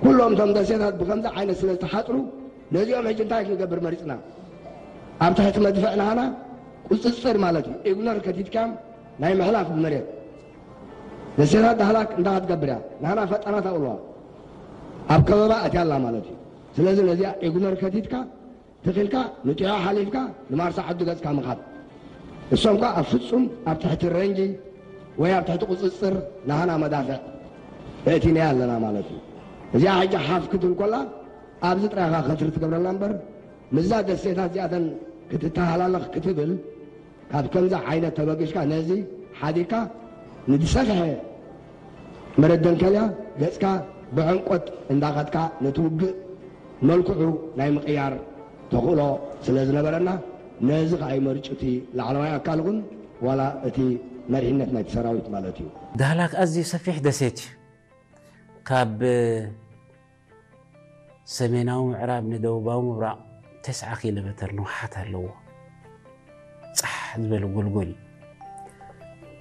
ኩሎም እቶም ደሴታት ብከምዚ ዓይነት ስለ ዝተሓፅሩ ነዚኦም ሕጂ እንታይ ክንገብር መሪፅና? ኣብ ትሕቲ መድፍዕ ናህና ቁፅፅር ማለት እዩ። ኢግኖር ከቲትካም ናይ ምሕላፍ መሬት ደሴታት ዳህላክ እንታይ ክትገብር እያ? ናህና ፈጠራት ኣውለዋ ኣብ ከበባ ኣትያ ኣላ ማለት እዩ። ስለዚ ነዚኣ ኢግኖር ከቲትካ ትኽልካ ንጢዖ ሓሊፍካ ንማርሳ ዓዱ ገጽካ ምኻድ። እሶም ከኣ ኣብ ፍጹም ኣብ ትሕቲ ረንጂ ወይ ኣብ ትሕቲ ቁጽጽር ናህና መዳፍዕ የእቲናያ ኣለና ማለት እዩ። እዚኣ ሕጂ ሓፍ ክትብል ኮላ ኣብዚ ጥራይኻ ከትሪ ትገብረላ እምበር ምስዛ ደሴታት እዚኣተን ክትተሃላለኽ ክትብል ካብ ከምዚ ዓይነት ተበጊስካ ነዚ ሓዲግካ ንዝሰፍሐ መረደንከልያ ገጽካ ብዕምቆት እንዳኸድካ ነቲ ውግእ መልክዑ ናይ ምቕያር ተኽእሎ ስለ ዝነበረና ነዚ ከኣ ይመርጩ እቲ ላዕለዋይ ኣካል ኹን ዋላ እቲ መሪሕነት ናይቲ ሰራዊት ማለት እዩ። ዳህላክ ኣዝዩ ሰፊሕ ደሴት እዩ። ካብ ሰሜናዊ ምዕራብ ንደቡባዊ ምብራቕ ተስዓ ኪሎ ሜተር ንውሓት ኣለዎ። ጻሕ ዝበለ ጎልጎል እዩ።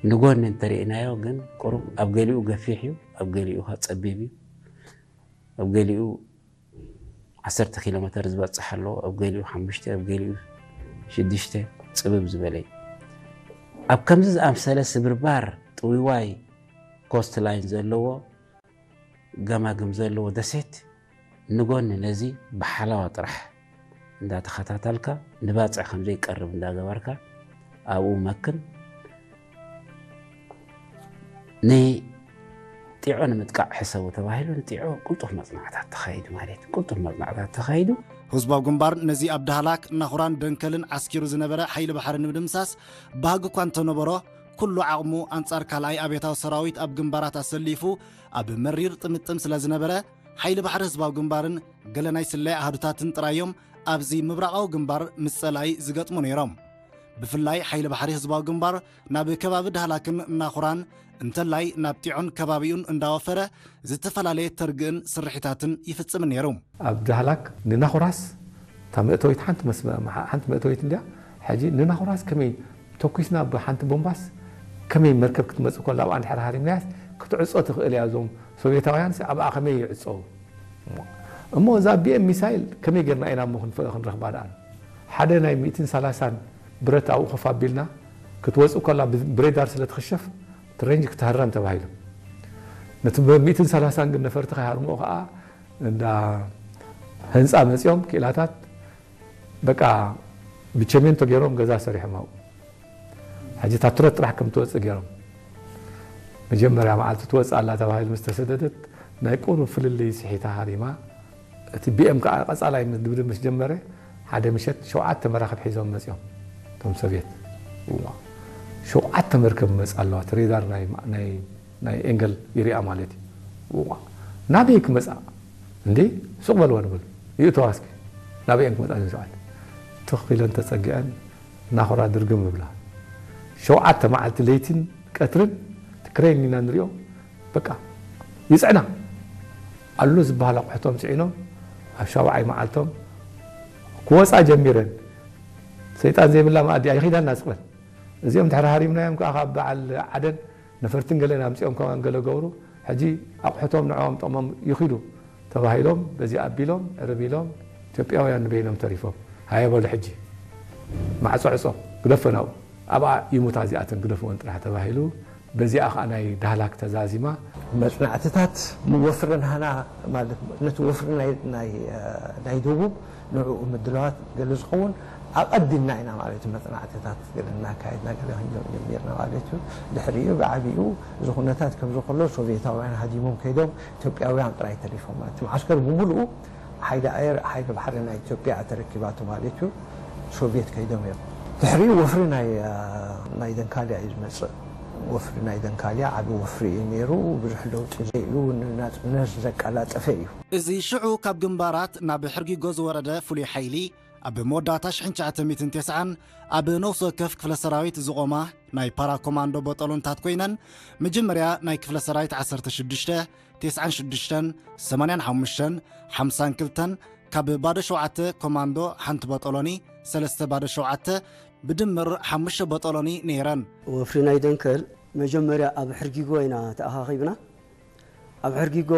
ንጎኒ እንተሪእናዮ ግን ቁሩብ ኣብ ገሊኡ ገፊሕ እዩ፣ ኣብ ገሊኡ ከኣ ጸቢብ እዩ። ኣብ ገሊኡ ዓሰርተ ኪሎ ሜተር ዝበጽሕ ኣለዎ፣ ኣብ ገሊኡ ሓሙሽተ፣ ኣብ ገሊኡ ሽዱሽተ ጽብብ ዝበለ እዩ። ኣብ ከምዚ ዝኣምሰለ ስብርባር ጥውይዋይ ኮስት ላይን ዘለዎ ገማግም ዘለዎ ደሴት ንጎኒ ነዚ ብሓላዋ ጥራሕ እንዳተኸታተልካ ንባጽዕ ከም ዘይቀርብ እንዳገበርካ ኣብኡ መክን። ንጢዖ ንምጥቃዕ ሕሰቡ ተባሂሉ ንጢዖ ቅልጡፍ መጽናዕታት ተኻይዱ ማለት እዩ። ቅልጡፍ መጽናዕታት ተኻይዱ። ህዝባዊ ግንባር ነዚ ኣብ ዳህላክ፣ ናኹራን ደንከልን ዓስኪሩ ዝነበረ ሓይሊ ባሕሪ ንምድምሳስ ባህጊ እኳ እንተነበሮ፣ ኩሉ ዓቕሙ ኣንጻር ካልኣይ ኣብዮታዊ ሰራዊት ኣብ ግንባራት ኣሰሊፉ ኣብ መሪር ጥምጥም ስለ ዝነበረ፣ ሓይሊ ባሕሪ ህዝባዊ ግንባርን ገለ ናይ ስለያ ኣሃዱታትን ጥራይ እዮም ኣብዚ ምብራቓዊ ግንባር ምስ ጸላኢ ዝገጥሙ ነይሮም። ብፍላይ ሓይሊ ባሕሪ ህዝባዊ ግንባር ናብ ከባቢ ዳህላክን ናኹራን እንተላይ ናብ ጢዖን ከባቢኡን እንዳወፈረ ዝተፈላለየ ተርግእን ስርሒታትን ይፍጽምን ነይሩ። ኣብ ዳህላክ ንናኹራስ እታ መእተዊት ሓንቲ መስመ- ሓንቲ መእተዊት እንድያ። ሕጂ ንናኹራስ ከመይ ተኩስና ብሓንቲ ቦምባስ ከመይ መርከብ ክትመጽእ ከላ ኣብኣ እንድሕር ሃሪምናያስ ክትዕጾ ትኽእል እያ። እዞም ሶቭየታውያንስ ኣብኣ ከመይ ይዕጸው? እሞ እዛ ቢኤም ሚሳይል ከመይ ጌርና ኢና እሞ ክንፈ- ክንረኽባ ደኣ? ሓደ ናይ ሚእትን ሰላሳን ብረት ኣብኡ ኮፍ ኣቢልና ክትወጽእ ከላ ብ- ብሬዳር ስለ ትኽሸፍ እቲ ሬንጅ ክትህረም ተባሂሉ። ነቲ ብ- ሚእትን ሰላሳን ግን ነፈርቲ ከይሃርምኦ ከኣ እንዳ ህንጻ መጺኦም ክኢላታት በቃ ብቸሜንቶ ገይሮም ገዛ ሰሪሖም ኣብኡ። ሕጂ እታ ትረት ጥራሕ ከም ትወፅእ ገይሮም። መጀመርያ መዓልቲ ትወፅእ ኣላ ተባሂሉ ምስ ተሰደደት ናይ ቁሩብ ፍልልይ ስሒታ ሃሪማ። እቲ ቢኤም ከዓ ቀፃላይ ድብድብ ምስ ጀመረ ሓደ ምሸት ሸውዓተ መራኽብ ሒዞም መፂኦም እቶም ሶቭየት። እዋ ሸውዓተ መርከብ ይመፃ ኣለዋ እቲ ሬዳር ናይ ናይ ናይ ኤንገል ይሪኣ ማለት እዩ። እዋ ናበይ ክመፃ እንዴ ሱቕ በልዋ ንበሉ ይእተዋ እስኪ ናበይ እየን ክመፃ እዘን ሸውዓተ ትኽ ኢለን ተፀጊዐን ናኹራ ድርግም ይብላ ሸውዓተ መዓልቲ ለይትን ቀትርን እቲ ክሬን ኢና ንሪኦ በቃ ይፅዕና ኣሎ ዝበሃል ኣቑሕቶም ፅዒኖም ኣብ ሻውዓይ መዓልቶም ክወፃ ጀሚረን ሰይጣን ዘይብላ መኣዲ ኣይኺዳና ስቕበል እዚኦም ድሕሪ ሃሪምናዮም ከዓ ካብ በዓል ዓደን ነፈርትን ገለን ኣምፂኦም ከማን ገለ ገብሩ ሕጂ ኣቑሑቶም ንዕኦም ጠቕሞም ይኺዱ ተባሂሎም በዚ ኣቢሎም ዕርብ ኢሎም ኢትዮጵያውያን ንበይኖም ተሪፎም ሃየ በሉ ሕጂ ማዕፆ ዕፆ ግደፈን ኣብኡ ኣብኣ ይሙታ እዚኣተን ግደፍወን ጥራሕ ተባሂሉ በዚኣ ከዓ ናይ ዳህላክ ተዛዚማ። መፅናዕትታት ወፍሪ ናህና ማለት ነቲ ወፍሪ ናይ ደቡብ ንዕኡ ምድላዋት ገለ ዝኸውን ኣቐዲምና ኢና ማለት እዩ መፅናዕትታት ገለ እናካየድና ገለ ክንጀም ጀሚርና ማለት እዩ ድሕሪኡ ብዓብኡ እዚ ኩነታት ከምዚ ከሎ ሶቪየታውያን ሃዲሞም ከይዶም ኢትዮጵያውያን ጥራይ ተሪፎም ማለት እቲ መዓስከር ብምሉኡ ሓይሊ ኣየር ሓይሊ ባሕሪ ናይ ኢትዮጵያ ተረኪባቶ ማለት እዩ ሶቪየት ከይዶም እዮም ድሕሪኡ ወፍሪ ናይ ደንካልያ እዩ ዝመፅእ ወፍሪ ናይ ደንካልያ ዓቢ ወፍሪ እዩ ነይሩ ብዙሕ ለውጢ ዘይብሉ ንናፅነት ዘቀላጠፈ እዩ። እዚ ሽዑ ካብ ግንባራት ናብ ሕርጊጎ ዝወረደ ፍሉይ ሓይሊ፣ ኣብ መወዳእታ ሽሕን ትሽዓተ ሚእትን ተስዓን ኣብ ነፍሲ ወከፍ ክፍለ ሰራዊት ዝቖማ ናይ ፓራ ኮማንዶ ቦጦሎንታት ኮይነን፣ መጀመርያ ናይ ክፍለ ሰራዊት ዓሰርተ ሽዱሽተ፣ ተስዓን ሽዱሽተን፣ ሰማንያን ሓሙሽተን፣ ሓምሳን ክልተን፣ ካብ ባዶ ሸውዓተ ኮማንዶ ሓንቲ ቦጦሎኒ፣ ሰለስተ ባዶ ሸውዓተ፣ ብድምር ሓሙሽተ ቦጦሎኒ ነይረን። ወፍሪ ናይ ደንከል መጀመርያ ኣብ ሕርጊጎ ኢና ተኣኻኺብና። ኣብ ሕርጊጎ